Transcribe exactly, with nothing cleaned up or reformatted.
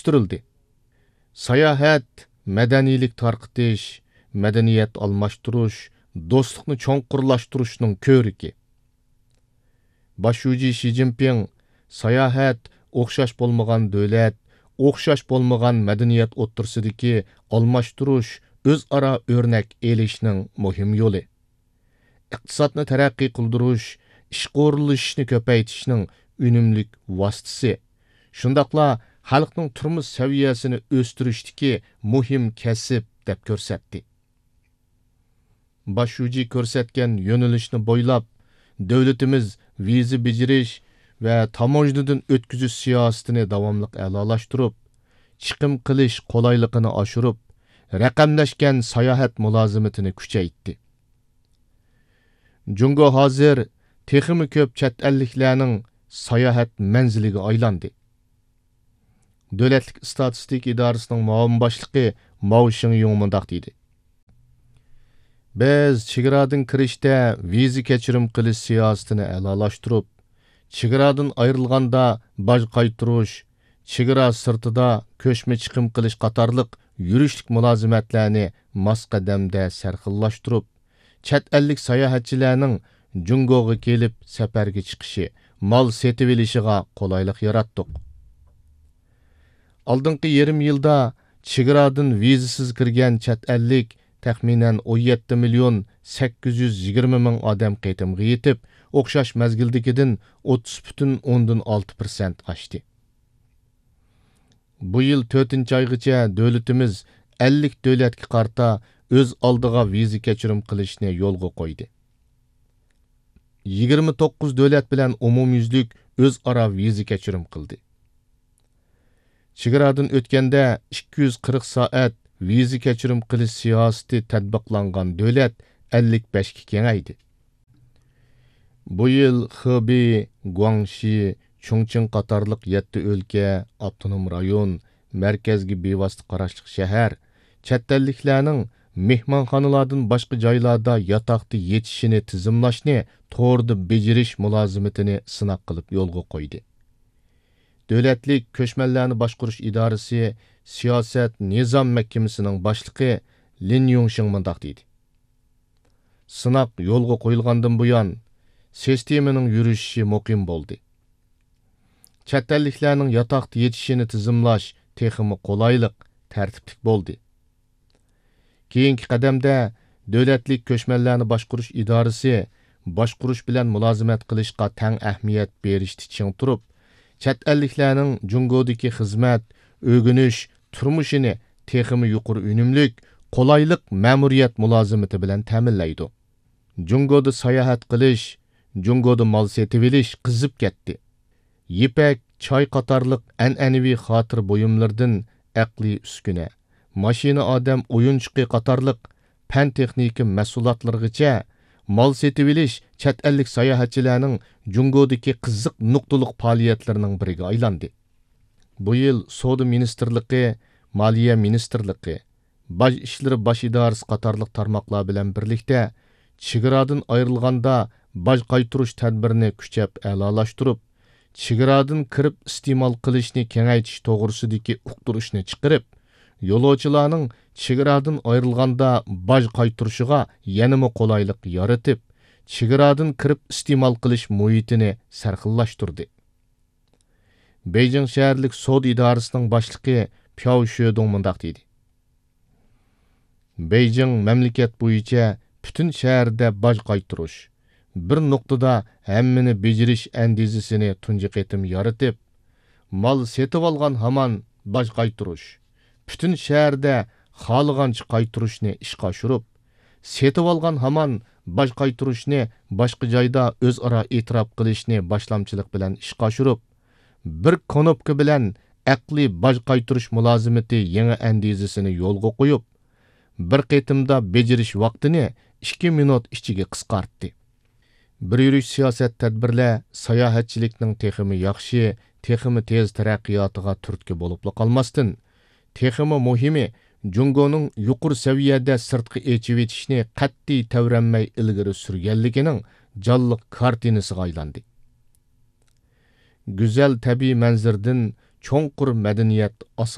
ئۆستۈرۈلدى. ساياھەت، مەدەنىيلىك تارقىتىش، مەدەنىيەت ئالماشتۇرۇش، دوستلۇقنى چوڭقۇرلاشتۇرۇشنىڭ كۆرىكى. باش شۇجى شى جىنپىڭ ساياھەت ئوخشاش بولمىغان دۆلەت، ئوخشاش بولمىغان مەدەنىيەت ئوتتۇرىسىدىكى ئالماشتۇرۇش، ئۆزئارا ئۆرنەك ئېلىشنىڭ مۇھىم يولى. ئىقتىسادنى تەرەققىي قىلدۇرۇش، ئىشقا ئورۇنلىشىشنى كۆپەيتىشنىڭ ئۈنۈملۈك ۋاسىتىسى، شۇنداقلا خەلقنىڭ تۇرمۇش سەۋىيەسىنى ئۆستۈرۈشتىكى مۇھىم كەسىپ، دەپ كۆرسەتتى. باش شۇجى كۆرسەتكەن يۆنىلىشنى بويلاپ، دۆلىتىمىز ۋىزا بېجىرىش ۋە تاموژنىدىن ئۆتكۈزۈش سىياسىتىنى داۋاملىق ئەلالاشتۇرۇپ، چىقىم قىلىش قولايلىقىنى ئاشۇرۇپ، رەقەملەشكەن ساياھەت مۇلازىمىتىنى كۈچەيتتى. جۇڭگو ھازىر تېخىمۇ كۆپ چەت ئەللىكلەرنىڭ ساياھەت مەنزىلىگە ئايلاندى. دۆلەتلىك ئىستاتىستىكا ئىدارىسىنىڭ مۇئاۋىن باشلىقى ماۋ شىڭيۇڭ مۇنداق دېدى: بىز چېگرادىن كىرىشتە ۋىزا كەچۈرۈم قىلىش سىياسىتىنى ئەلالاشتۇرۇپ، چېگرادىن ئايرىلغاندا باج قايتۇرۇش، چېگرا سىرتىدا كۆچمە چىقىم قىلىش قاتارلىق يۈرۈشلۈك مۇلازىمەتلەرنى ماس قەدەمدە سەرخىللاشتۇرۇپ، چەت ئەللىك ساياھەتچىلەرنىڭ جۇڭگوغا كېلىپ سەپەرگە چىقىشى، مال سېتىۋېلىشىغا قولايلىق ياراتتۇق. ئالدىنقى يېرىم يىلدا چېگرادىن ۋىزىسىز كىرگەن چەت ئەللىك تەخمىنەن ئون يەتتە مىليون سەككىز يۈز يىگىرمە مىڭ ئادەم قېتىمغا يېتىپ، ئوخشاش مەزگىلدىكىدىن ئوتتۇز پۈتۈن ئوندىن ئالتە پىرسەنت ئاشتى. بۇ يىل تۆتىنچى ئايغىچە دۆلىتىمىز ئەللىك دۆلەتكە قارىتا ئۆز ئالدىغا ۋىزا كەچۈرۈم قىلىشنى يولغا قويدى. يىگىرمە توققۇز دۆلەت بىلەن ئومۇميۈزلۈك ئۆزئارا ۋىزا كەچۈرۈم قىلدى. چېگرادىن ئۆتكەندە ئىككى يۈز قىرىق سائەت ۋىزا كەچۈرۈم قىلىش سىياسىتى تەتبىقلانغان دۆلەت ئەللىك بەشكە كېڭەيدى. بۇ يىل خېبېي، گۇاڭشى، چۇڭچىڭ قاتارلىق يەتتە ئۆلكە، ئاپتونوم رايون، مەركەزگە بىۋاسىتە قاراشلىق شەھەر چەت ئەللىكلەرنىڭ مېھمانخانىلاردىن باشقا جايلاردا ياتاقتا يېتىشىنى تىزىملاشنى توردا بېجىرىش مۇلازىمىتىنى سىناق قىلىپ يولغا قويدى. دۆلەتلىك كۆچمەنلەرنى باشقۇرۇش ئىدارىسى سىياسەت نىزام مەھكىمىسىنىڭ باشلىقى لىن يۇڭشىڭ مۇنداق دېدى: سىناق يولغا قويۇلغاندىن بۇيان، سىستېمىنىڭ يۈرۈشۈشى مۇقىم بولدى. چەت ئەللىكلەرنىڭ ياتاقتا يېتىشىنى تىزىملاش تېخىمۇ قولايلىق، تەرتىپلىك بولدى. كېيىنكى قەدەمدە دۆلەتلىك كۆچمەنلەرنى باشقۇرۇش ئىدارىسى باشقۇرۇش بىلەن مۇلازىمەت قىلىشقا تەڭ ئەھمىيەت بېرىشتە چىڭ تۇرۇپ، چەت ئەللىكلەرنىڭ جۇڭگودىكى خىزمەت، ئۆگىنىش، تۇرمۇشىنى تېخىمۇ يۇقىرى ئۈنۈملۈك، قولايلىق مەمۇرىيەت مۇلازىمىتى بىلەن تەمىنلەيدۇ. جۇڭگودا ساياھەت قىلىش، جۇڭگودا مال سېتىۋېلىش قىزىپ كەتتى. يىپەك، چاي قاتارلىق ئەنئەنىۋى خاتىرە بۇيۇملىرىدىن ئەقلىي ئۈسكۈنە، ماشىنا ئادەم ئويۇنچۇقى قاتارلىق پەن-تېخنىكا مەھسۇلاتلىرىغىچە مال سېتىۋېلىش چەت ئەللىك ساياھەتچىلەرنىڭ جۇڭگودىكى قىزىق نۇقتىلىق پائالىيەتلىرىنىڭ بىرىگە ئايلاندى. بۇ يىل سودا مىنىستىرلىقى، مالىيە مىنىستىرلىقى، باج ئىشلىرى باش ئىدارىسى قاتارلىق تارماقلار بىلەن بىرلىكتە چېگرادىن ئايرىلغاندا باج قايتۇرۇش تەدبىرىنى كۈچەپ ئەلالاشتۇرۇپ، چېگرادىن كىرىپ ئىستېمال قىلىشنى كېڭەيتىش توغرىسىدىكى ئۇقتۇرۇشنى چىقىرىپ، يولۇچىلارنىڭ چېگرادىن ئايرىلغاندا باج قايتۇرۇشىغا يەنىمۇ قولايلىق يارىتىپ، چېگرادىن كىرىپ ئىستېمال قىلىش مۇھىتىنى سەرخىللاشتۇردى. بېيجىڭ شەھەرلىك سودا ئىدارىسىنىڭ باشلىقى پياۋ شۆدۇڭ مۇنداق دېدى: بېيجىڭ مەملىكەت بويىچە پۈتۈن شەھەردە باج قايتۇرۇش، بىر نۇقتىدا ھەممىنى بېجىرىش ئەندىزىسىنى تۇنجى قېتىم يارىتىپ، مال سېتىۋالغان ھامان باج قايتۇرۇش، پۈتۈن شەھەردە خالىغانچە قايتۇرۇشنى ئىشقا ئاشۇرۇپ، سېتىۋالغان ھامان باج قايتۇرۇشنى باشقا جايدا ئۆزئارا ئېتىراپ قىلىشنى باشلامچىلىق بىلەن ئىشقا ئاشۇرۇپ، بىر كۇنۇپكا بىلەن ئەقلىي باج قايتۇرۇش مۇلازىمىتى يېڭى ئەندىزىسىنى يولغا قويۇپ، بىر قېتىمدا بېجىرىش ۋاقتىنى ئىككى مىنۇت ئىچىگە قىسقارتتى. بىر يۈرۈش سىياسەت تەدبىرلەر ساياھەتچىلىكنىڭ تېخىمۇ ياخشى، تېخىمۇ تېز تەرەققىياتىغا تۈرتكە بولۇپلا قالماستىن، تېخىمۇ مۇھىمى، جۇڭگونىڭ يۇقىرى سەۋىيەدە سىرتقا ئېچىۋېتىشنى قەتئىي تەۋرەنمەي ئىلگىرى سۈرگەنلىكىنىڭ جانلىق كارتىنىسىغا ئايلاندى. گۈزەل تەبىئىي مەنزىرىدىن چوڭقۇر مەدەنىيەت ئاساسى.